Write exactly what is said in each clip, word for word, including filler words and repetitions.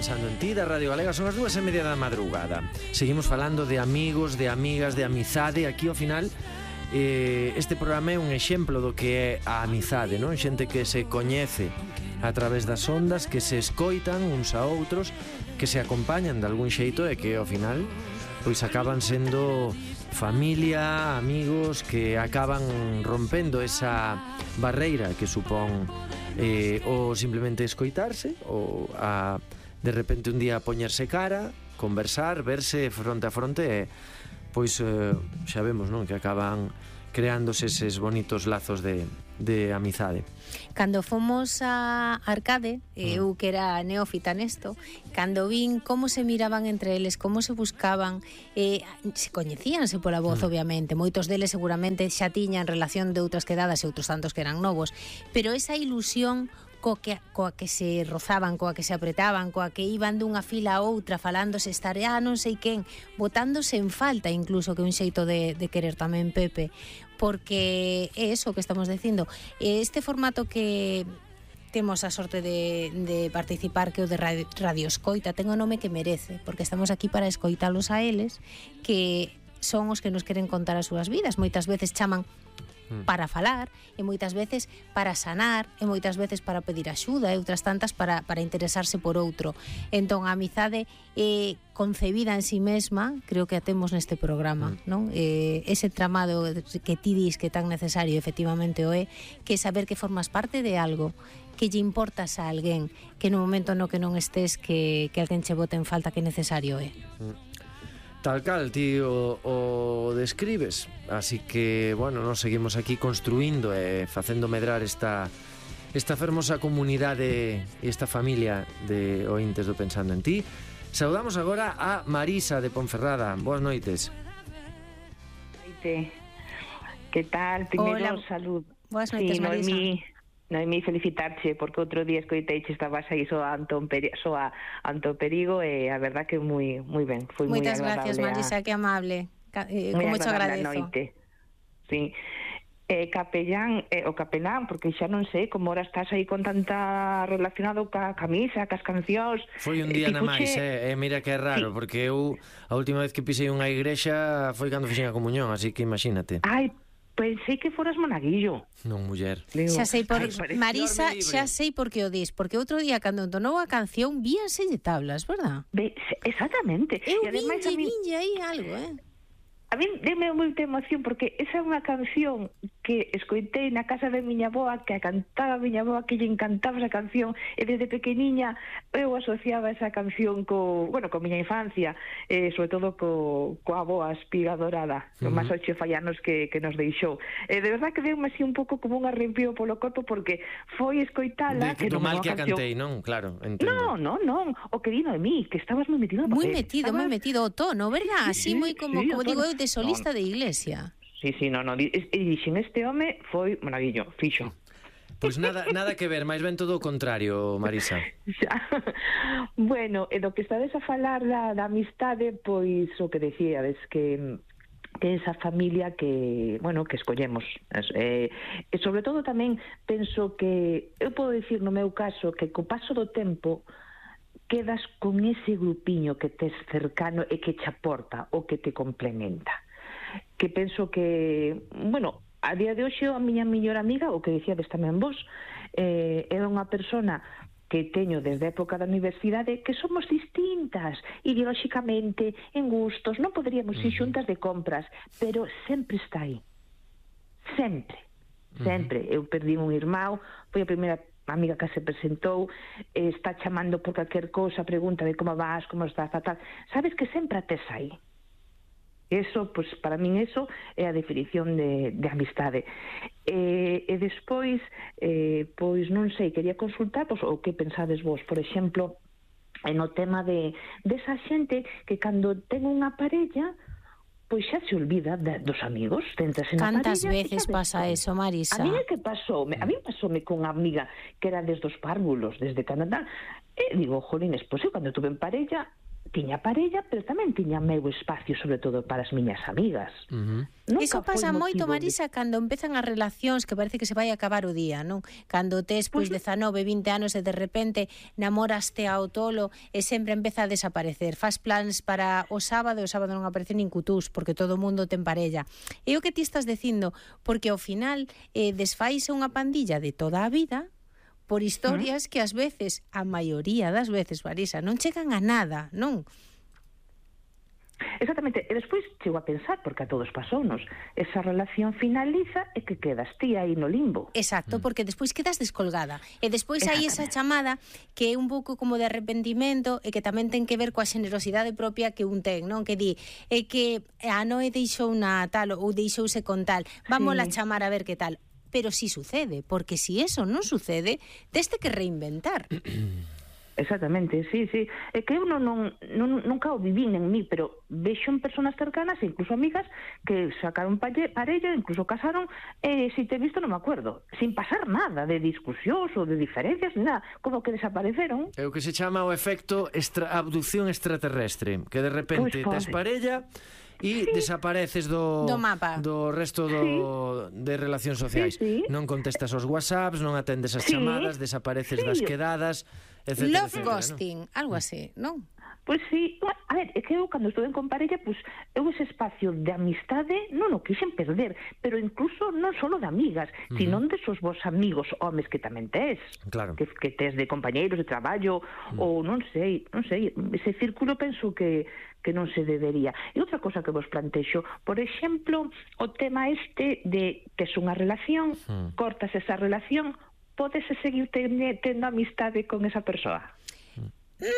Pensando en Ti, da Radio Galega. Son as dúas e media da madrugada. Seguimos falando de amigos, de amigas, de amizade. Aquí ao final eh, este programa é un exemplo do que é a amizade, non? Xente que se coñece a través das ondas, que se escoitan uns a outros, que se acompañan de algún xeito e que ao final pois acaban sendo familia, amigos, que acaban rompendo esa barreira que supón eh, ou simplemente escoitarse ou a de repente un día poñerse cara, conversar, verse fronte a fronte e pois eh, xa vemos, non, que acaban creándose eses bonitos lazos de, de amizade. Cando fomos a Arcade, eu que era neófita nesto, cando vin como se miraban entre eles, como se buscaban, eh, se coñecíanse pola voz, mm. obviamente, moitos deles seguramente xa tiñan relación de outras quedadas e outros tantos que eran novos, pero esa ilusión coa que, coa que se rozaban, coa que se apretaban, coa que iban dunha fila a outra falándose, estar ah, non sei quen, botándose en falta incluso, que un xeito de, de querer tamén Pepe, porque é eso que estamos dicindo. Este formato que temos a sorte de, de participar, que o de radio, radio Escoita, ten o nome que merece, porque estamos aquí para escoitalos a eles, que son os que nos queren contar as súas vidas. Moitas veces chaman para falar, e moitas veces para sanar, e moitas veces para pedir axuda, e outras tantas para, para interesarse por outro. Entón, a amizade é concebida en si mesma, creo que a temos neste programa, mm. non? Eh, ese tramado que ti dis que tan necesario, efectivamente o é, que saber que formas parte de algo, que lle importas a alguén, que no momento no que non estés, que, que alguén che bote en falta, que necesario é. Mm. Tal cal, ti o, o describes. Así que, bueno, nos seguimos aquí construindo e facendo medrar esta esta fermosa comunidade e esta familia de ointes do Pensando en Ti. Saudamos agora a Marisa de Ponferrada. Boas noites. Noite. Que tal? Primeiro, salud. Boas noites, sí, Marisa. Noemí, Noemí, felicitarche, porque outro día escoiteiche, estabas aí só a Antón Peri, só a Antón Perigo, e a verdad que moi moi ben, foi moi agradable. Moitas gracias, Marisa, a... que amable. Eh, moi como te agradezo. Noite. Sí. Eh, capellán, eh, o capelán, porque xa non sei como ahora estás aí con tanta relacionado ca camisa, cas cancións. Foi un día eh, na máis, eh, eh, mira que é raro, sí. Porque eu a última vez que pisei unha igrexa foi cando fixen a comunión, así que imagínate. Ai, pensei que foras monaguillo. Non, muller. Digo, xa sei por ay, Marisa, xa sei por que o dis, porque outro día cando entonou a canción víanse de tablas, verdad? Be, exactamente. Eu vinlle, mí... vinlle aí algo, eh. A mí deme moita emoción porque esa é unha canción que escoitei na casa de miña avoa, que a cantaba miña avoa, que lle encantaba esa canción, e desde pequeniña eu asociaba esa canción co, bueno, co miña infancia, eh, sobre todo co, coa avoa espiga dorada, uh -huh. máis ocho fallanos que, que nos deixou. Eh, de verdad que deu-me así un pouco como un arrepío polo corpo, porque foi escoitala... De, que do mal que a cantei, non? Claro, entendo. Non, non, non, o que dino de mí, que estabas moi metido no papel. Moi metido, moi metido o tono, verdad? Así sí, moi como, sí, como digo eu, de solista no. de iglesia. Sí, sí, no, no, e dixen, este home foi maravillo, fixo. Pois pues nada, nada que ver, máis ben todo o contrario, Marisa. Bueno, e do que estades a falar da, da amistade, pois o que decíades, que que esa familia que, bueno, que escollemos. Eh, e sobre todo tamén penso que, eu podo dicir no meu caso, que co paso do tempo quedas con ese grupiño que tes cercano e que te aporta o que te complementa. Que penso que, bueno, a día de hoxe a miña mellor amiga, o que dicíades tamén vos, eh, é unha persona que teño desde a época da universidade, que somos distintas ideolóxicamente, en gustos, non poderíamos ir xuntas de compras, pero sempre está aí. Sempre. Sempre. Eu perdí un irmão, foi a primeira amiga que se presentou, eh, está chamando por calquer cousa, pregunta de como vas, como estás, tal, tal. Sabes que sempre a tes aí. Eso, pues, para min eso é a definición de, de amistade. E, e despois, eh, pois non sei, quería consultar pois, o que pensades vos, por exemplo, no tema de desa xente que cando ten unha parella, pois xa se olvida de, dos amigos, tentas en a parella. Cantas veces pasa eso, Marisa? A mí é que pasou, a mí pasoume con unha amiga que era desde os párvulos, desde Canadá, e digo, jolines, pois eu cando tuve en parella tiña parella, pero tamén tiña meu espacio, sobre todo para as miñas amigas. Uh-huh. Iso pasa moito, Marisa, de... cando empezan as relacións que parece que se vai acabar o día, non? Cando tes, pois, pues, dezanove, vinte anos e de repente namoraste ao tolo e sempre empeza a desaparecer. Fas plans para o sábado e o sábado non aparece nin cutús porque todo o mundo ten parella. E o que ti estás dicindo, porque ao final eh, desfaise unha pandilla de toda a vida por historias que ás veces, a maioría das veces, Marisa, non chegan a nada, non? Exactamente, e despois chego a pensar, porque a todos pasounos, esa relación finaliza e que quedas ti aí no limbo. Exacto, porque despois quedas descolgada. E despois hai esa chamada que é un pouco como de arrepentimento e que tamén ten que ver coa xenerosidade propia que un ten, non? Que di, é que a Noé deixou na tal ou deixouse con tal, vámola sí. chamar a ver que tal. Pero si sucede, porque si eso non sucede, teste que reinventar. Exactamente, sí, sí. É que eu non, non, non, nunca o vivín en mí, pero vexo en personas cercanas, incluso amigas, que sacaron parella, incluso casaron, e se te he visto non me acuerdo, sin pasar nada de discusións ou de diferencias, nada, como que desapareceron. É o que se chama o efecto extra, abducción extraterrestre, que de repente pues, tes parella e sí. desapareces do, do mapa, do resto do, sí. de relacións sociais. Sí, sí. Non contestas aos WhatsApps, non atendes as sí. chamadas, desapareces sí. das quedadas, etcétera. Love etcétera, ghosting, ¿no? Algo así, non? Pois sí, a ver, é que eu cando estuve con parella, pois eu ese espacio de amistade non o quixen perder, pero incluso non só de amigas, uh-huh. sino desos vos amigos homes que tamén tes, claro. que, que tes de compañeiros de traballo, uh-huh. ou non sei, non sei, ese círculo penso que que non se debería. E outra cosa que vos plantexo, por exemplo, o tema este de tes unha relación, uh-huh. cortas esa relación, podes seguir tendo amistade con esa persoa? Mm,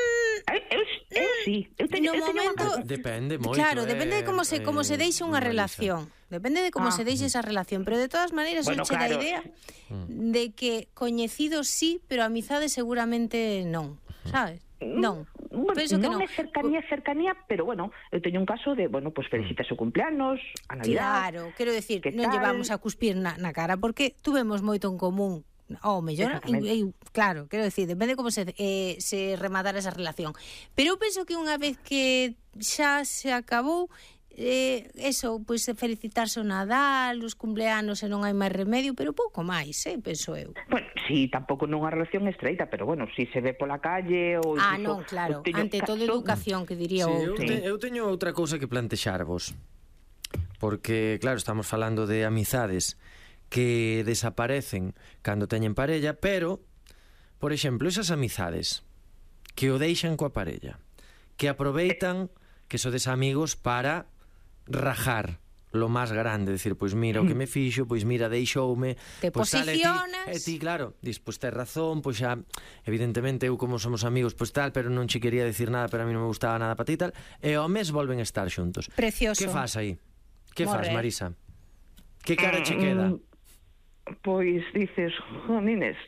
eu, eu, eu sí, eu teño, no eu teño momento unha... depende moito. Claro, eh, depende de como se como se deixe unha relación. Depende de como ah. se deixe esa relación, pero de todas maneiras bueno, eu che claro. da idea de que coñecidos sí, pero amizade seguramente non, sabes? Non. Bueno, Penso que non non. é cercanía, cercanía, pero bueno, eu teño un caso de, bueno, pues felicitas o cumpleanos, a Navidad. Claro, quero decir, non llevamos a cuspir na, na cara porque tuvemos moito en común. O mellor, e, claro, quero decir, depende como se, eh, se rematara esa relación. Pero eu penso que unha vez que xa se acabou, eh, eso, pois pues, felicitarse o Nadal, os cumpleanos e non hai máis remedio, pero pouco máis, eh, penso eu. Bueno, sí, tampouco non unha relación estreita, pero bueno, si se ve pola calle ou ah, non, claro, ante todo educación, que diría sí, outro. Eu, te, eu teño outra cousa que plantexarvos, porque, claro, estamos falando de amizades que desaparecen cando teñen parella, pero, por exemplo, esas amizades que o deixan coa parella, que aproveitan que sodes amigos para rajar lo máis grande, decir, pois mira o que me fixo, pois mira, deixoume, te pois posicionas, e ti, ti, claro, dis, pois tes razón, pois xa, evidentemente eu como somos amigos, pois tal, pero non che quería decir nada, pero a mí non me gustaba nada para ti tal, e ao mes volven a estar xuntos. Precioso. Que fas aí? Que Morrer. fas, Marisa? Que cara che queda? Pois dices, jonines,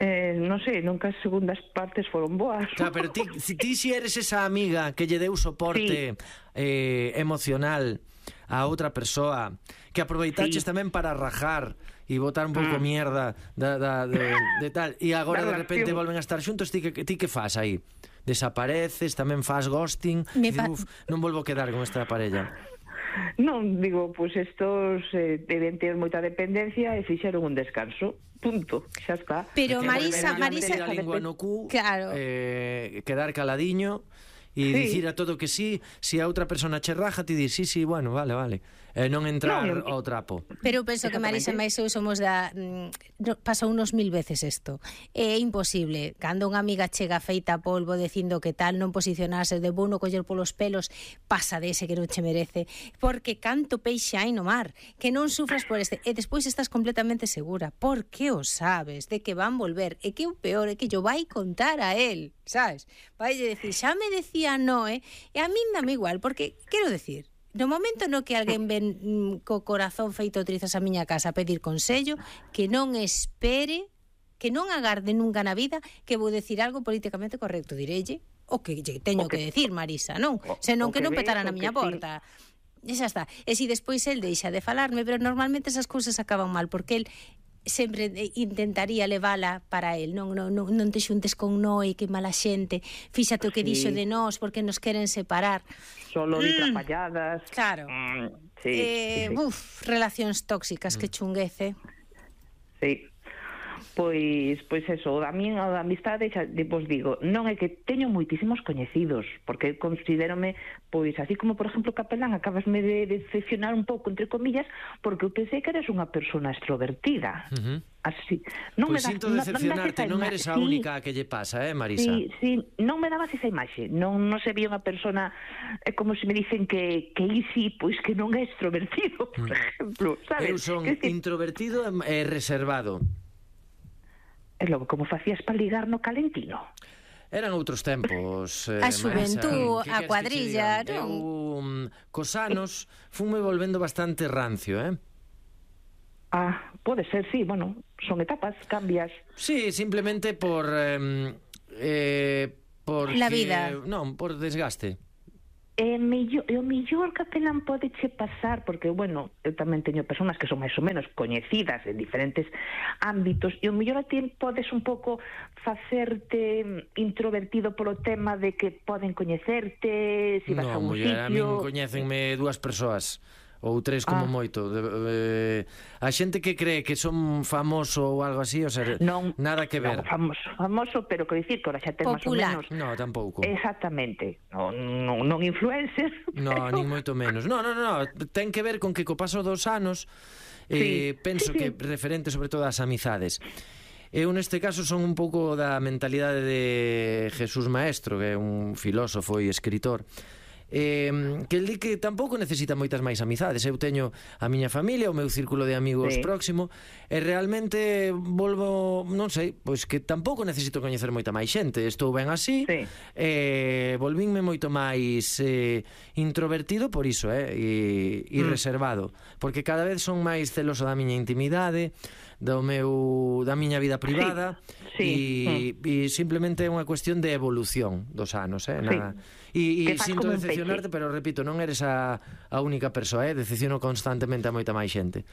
eh, non sei, nunca as segundas partes foron boas. Claro, pero ti, si ti si eres esa amiga que lle deu soporte sí. eh, emocional a outra persoa, que aproveitaches sí. tamén para rajar e botar un pouco mm. mierda da, da, de, de tal, e agora de repente volven a estar xuntos, ti que, ti que fas aí? Desapareces, tamén fas ghosting, e dices, uf, non volvo a quedar con esta parella. Non, digo, pois pues estos eh, deben ter moita dependencia e fixeron un descanso, punto, xa está. Pero Marisa, Marisa, a lingua no cu, claro. eh, quedar caladiño e sí. dicir a todo que sí, se a outra persona che raja, ti dis, sí, sí, bueno, vale, vale. E non entrar no, ao trapo. Pero eu penso que Marisa e eu somos da... Mm, pasou unos mil veces isto. É imposible. Cando unha amiga chega feita a polvo dicindo que tal, non posicionarse de bueno, coller polos pelos, pasa dese que non che merece. Porque canto peixe hai no mar, que non sufras por este. E despois estás completamente segura. Por que o sabes? De que van volver. E que o peor é que yo vai contar a él, sabes? Vai decir, xa me decía no, eh? E a min dame igual, porque, quero decir, no momento no que alguén ven mm, co corazón feito trizas a miña casa a pedir consello, que non espere, que non agarde nunca na vida que vou decir algo políticamente correcto, direille o que lle teño que, que decir, Marisa, non? Senón que, que non petara na miña porta. Sí. E xa está. E si despois el deixa de falarme, pero normalmente esas cousas acaban mal, porque el sempre intentaría levala para el, non, non, non, non te xuntes con noi, que mala xente, fíxate o que Sí. dixo de nós, porque nos queren separar. Solo Mm. ditrapalladas. Claro. Mm, sí, eh, sí, sí. Uf, relacións tóxicas, que chunguece. Sí. Pois, pois eso, a min a amistade, xa vos digo, non é que teño moitísimos coñecidos, porque considérome, pois, así como, por exemplo, capelán, acabasme de decepcionar un pouco, entre comillas, porque eu pensei que eres unha persona extrovertida. Uh -huh. Así. Non Pois me das- sinto non- non decepcionarte, das esa non ima- eres a sí, única que lle pasa, eh, Marisa? Sí, sí, non me dabas esa imaxe, non, non se vía unha persona, é como se me dicen que, que Isi, pois que non é extrovertido, por exemplo, sabes? Eu son Que decir, introvertido e reservado. é logo, como facías para ligar no Calentino? Eran outros tempos, eh, A xuventú, Marisa. Que a queres que che cuadrilla, diga? non? Eu, mm, cos anos, funme volvendo bastante rancio, eh? Ah, pode ser, sí, bueno, son etapas, cambias. Sí, simplemente por... Eh, eh, porque, La vida. Non, por desgaste. E mellor, e o mellor capelán pode che pasar, porque, bueno, eu tamén teño persoas que son máis ou menos coñecidas en diferentes ámbitos, e o mellor a ti podes un pouco facerte introvertido polo tema de que poden coñecerte, se si vas a Non, un muller, a min sitio... coñécenme dúas persoas ou tres como Ah. moito. De, eh, a xente que cree que son famoso ou algo así, o sea, Non, nada que ver. non, famoso, famoso, pero que dicir que ahora xa ten máis ou Popular. menos... No, tampouco. Exactamente, non, non, non influencer. No, pero- nin moito menos. No, no, no, ten que ver con que co paso dos anos eh, Sí, penso sí, que sí. referente sobre todo ás amizades. Eu neste caso son un pouco da mentalidade de Jesús Maestro, que é un filósofo e escritor, eh, que el di que tampouco necesita moitas máis amizades. Eu teño a miña familia, o meu círculo de amigos Sí. próximo, e realmente volvo, non sei, pois que tampouco necesito coñecer moita máis xente. Estou ben así, Sí. eh, volvínme moito máis eh, introvertido por iso, eh, e, e Mm. reservado, porque cada vez son máis celoso da miña intimidade, do meu da miña vida privada, Sí, e, e simplemente é unha cuestión de evolución dos anos, eh, Sí. nada. E, e Que fas sinto como un decepcionarte, peixe. pero repito, non eres a, a única persoa, eh, decepciono constantemente a moita máis xente.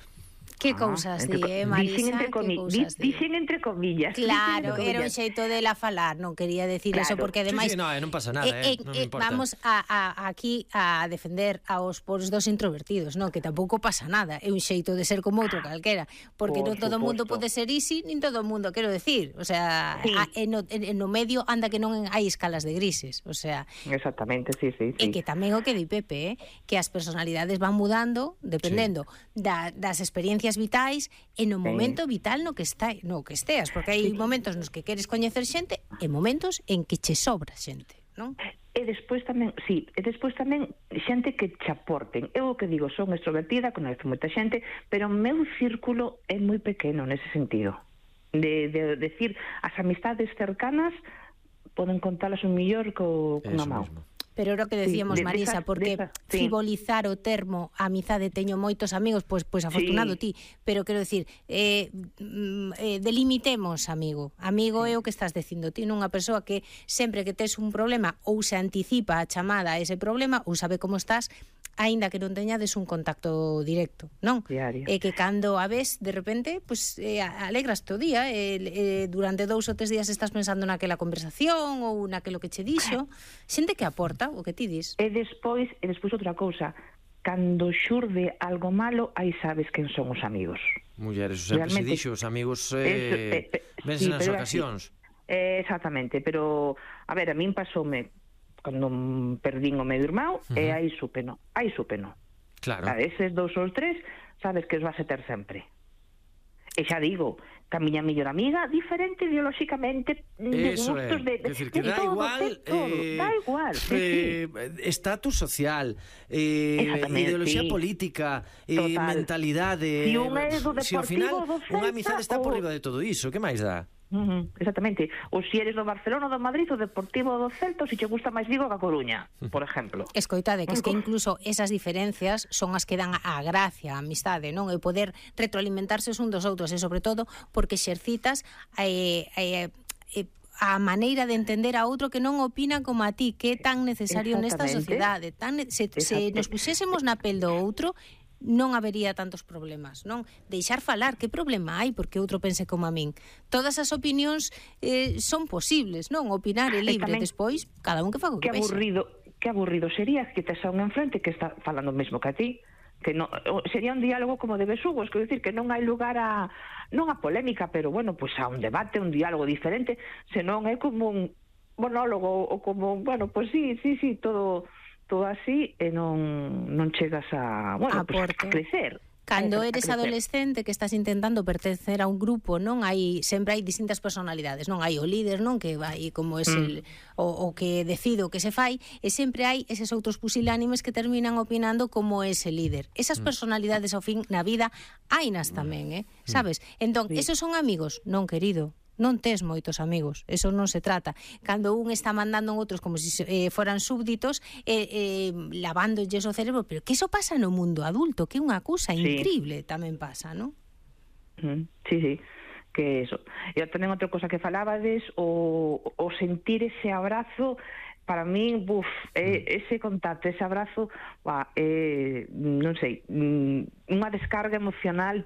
Que Ah, cousas di, entre- eh, dixen Marisa, entre que comi- cousas di- di. Dixen entre comillas. Claro, dixen entre era un comillas. xeito de la falar, non quería decir Claro. eso, porque ademais... Sí, sí, no, eh, non pasa nada, eh, non me importa. Vamos a, a, aquí a defender aos poros dos introvertidos, non, que tampouco pasa nada, é un xeito de ser como outro calquera, porque Por non todo o mundo suposto. pode ser easy, nin todo o mundo, quero decir, o sea, Sí. a, en, no, en, en no medio anda que non hai escalas de grises, o sea, Exactamente, sí, sí, E sí. que tamén o que di Pepe, eh, que as personalidades van mudando dependendo sí. da, das experiencias vitais e no momento vital no que está, no que esteas, porque hai momentos nos que queres coñecer xente e momentos en que che sobra xente, non? E despois tamén, sí, e despois tamén xente que che aporten. Eu o que digo, son extrovertida, coñezo moita xente, pero o meu círculo é moi pequeno nese sentido. De, de, de decir, as amistades cercanas poden contalas un millor co, cunha Eso mão. mesmo. Pero era o que decíamos, Sí, de- Marisa, desas- porque desas, sí. frivolizar o termo amizade teño moitos amigos, pois pois afortunado ti, pero quero decir, eh, mm, eh, delimitemos, amigo. Amigo é o que estás dicindo ti, non unha persoa que sempre que tes un problema ou se anticipa a chamada a ese problema ou sabe como estás, aínda que non teñades un contacto directo, non? Diario. E que cando a ves, de repente, pues, eh, alegras o día, eh, eh, durante dous ou tres días estás pensando naquela conversación ou naquelo que che dixo, xente que aporta o que ti dis. E despois, e despois outra cousa, cando xurde algo malo, aí sabes quen son os amigos. Mulleres, o sempre se Realmente- dixo, os amigos Eso, eh, eh, eh, vense sí, nas pero é así. ocasións. Eh, exactamente, pero a ver, a min pasoume cando mm, perdín o meu irmão, uh -huh. e aí súpeno, aí súpeno. Claro. A eses dous ou tres, sabes que os vas a ter sempre. E xa digo, que a miña mellor amiga, diferente ideolóxicamente, de Eso é, gustos, de, de, quer decir, que de dá todo, igual de todo, eh, dá igual, sí, eh, sí. estatus social, eh, Exactamente, ideoloxía sí. política, eh, Total. mentalidade. Si un é do si ao final Deportivo do unha Celta amizade está por ou- riba de todo iso, que máis dá? Uh -huh, exactamente. Ou se eres do Barcelona, do Madrid, o Deportivo do Celta, ou se che gusta máis Vigo que a Coruña, por exemplo. Escoitade, que es que incluso esas diferencias son as que dan a gracia, a amistade, non? E poder retroalimentarse un dos outros, e sobre todo porque exercitas eh, eh, eh, a maneira de entender a outro que non opina como a ti, que é tan necesario nesta Exactamente. sociedade. Tan ne se, se Exacto. nos puxésemos na pel do outro, non habería tantos problemas, non? Deixar falar, que problema hai porque outro pense como a min? Todas as opinións eh, son posibles, non? Opinar é libre, tamén, despois cada un que faga o que, que aburrido, que aburrido sería que tes a un enfrente que está falando o mesmo que a ti, que no, sería un diálogo como de besugos, quero dicir que non hai lugar a non a polémica, pero bueno, pois pues a un debate, un diálogo diferente, senón é como un monólogo ou como, bueno, pois pues sí, sí, sí, todo todo así e non non chegas a, bueno, pues, a crecer. Cando eres adolescente que estás intentando pertencer a un grupo, non hai sempre hai distintas personalidades, non hai o líder, non, que vai como es el mm. o, o que decide o que se fai, e sempre hai eses outros pusilánimes que terminan opinando como ese líder. Esas mm. personalidades ao fin na vida hainas tamén, eh? Sabes? Entón, sí. Esos son amigos? Non, querido. Non tes moitos amigos, eso non se trata. Cando un está mandando en outros como se si, eh, foran súbditos, eh, eh, lavándolles o cerebro, pero que eso pasa no mundo adulto, que é unha cousa sí. increíble, tamén pasa, non? Mm, sí, sí, que eso. E tamén outra cosa que falabades, o, o sentir ese abrazo, para min, buf, eh, ese contacto, ese abrazo, bah, eh, non sei, unha descarga emocional